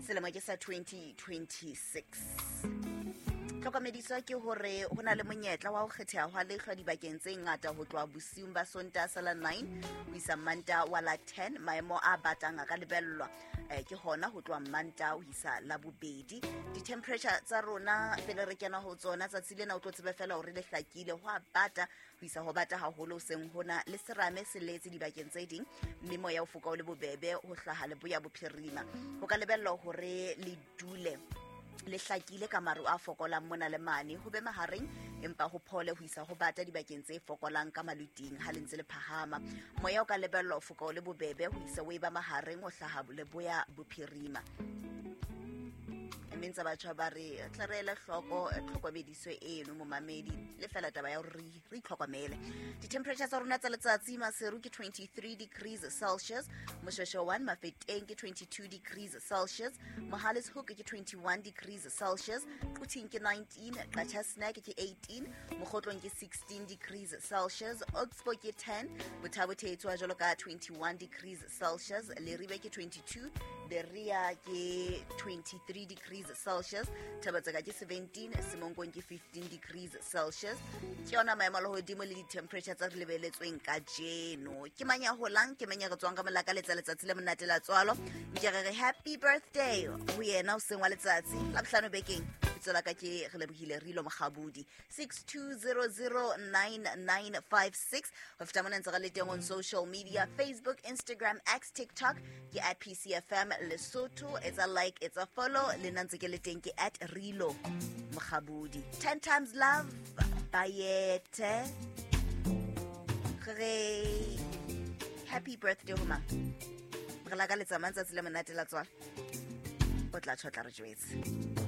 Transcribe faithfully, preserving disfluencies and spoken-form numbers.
Selemo ke sa twenty twenty-six. Tlhokomediso ke hore ho na le monyetla wa ho kgetheha hwa lehlwa dibakeng tse ngata ho tloha bosiung ba Sontaha sa la nine ho isa Mantaha wa la ten. Maemo a batang a ka lebellwa eh, ke hona ho tloha Mantaha ho isa Labobedi. Di-temperature tsa rona pele re kena ho tsona tsatsi lena o tlo tsebe fela hore le hlakile, ho a bata ho isa ho bata haholo hoseng hona, le serame se letse dibakeng tse ding, mme moya o foka o le bobebe ho hlaha leboya bophirima. Ho ka lebellwa hore le dule le hlakile ka maru a fokolang mona le mane, ho be mahareng empa ho phole ho isa ho bata dibakeng tse fokolang ka maluting ha le ntse le phahama. Moya o ka lebellwa ho foka o le bobebe ho isa o eba mahareng ho hlaha leboya bophirima. Mme ntse batjha ba re tla re ele hloko tlhokomediso eno momamedi, le fela taba ya hore re, re itlhokomele. Di-temperature tsa rona tsa letsatsi Maseru ke twenty-three degrees Celsius, Moshoeshoe one Mafeteng ke twenty-two degrees Celsius, Mohale's Hoek ke twenty-one degrees Celsius, Quthing ke nineteen, Qacha's Nek ke eighteen, Mokhotlong ke sixteen degrees Celsius, Oxbow ke ten, Botha Bothe e tswa jwalo ka twenty-one degrees Celsius, Leribe ke twenty-two, Berea ke twenty-three degrees Celsius, Thaba-Tseka ke seventeen, Semonkong ke fifteen degrees Celsius. Ke yona maemo a lehodimo le di-temperature tsa re lebeletsweng kajeno. Ke mang ya holang, ke mang ya re tswang ka molaka letsa letsatsi le monate la tswalo. Nke re re happy birthday ho yena hoseng wa letsatsi Labohlano bekeng. Lebitso la ka ke Relebohile Rilo Mokgabudi. six two zero zero nine nine five six. Ho feta mona ntse re le teng on social media, Facebook, Instagram, X, TikTok ke at P C F M Lesotho. Etsa like, etsa follow, le nna ntse ke le teng ke at Rilo Mokgabudi. ten times love, Bayete. Re happy birthday ho mang? Re lakaletsa mang tsatsi le monate la tswalo? O tla tjho, tla re jwetse.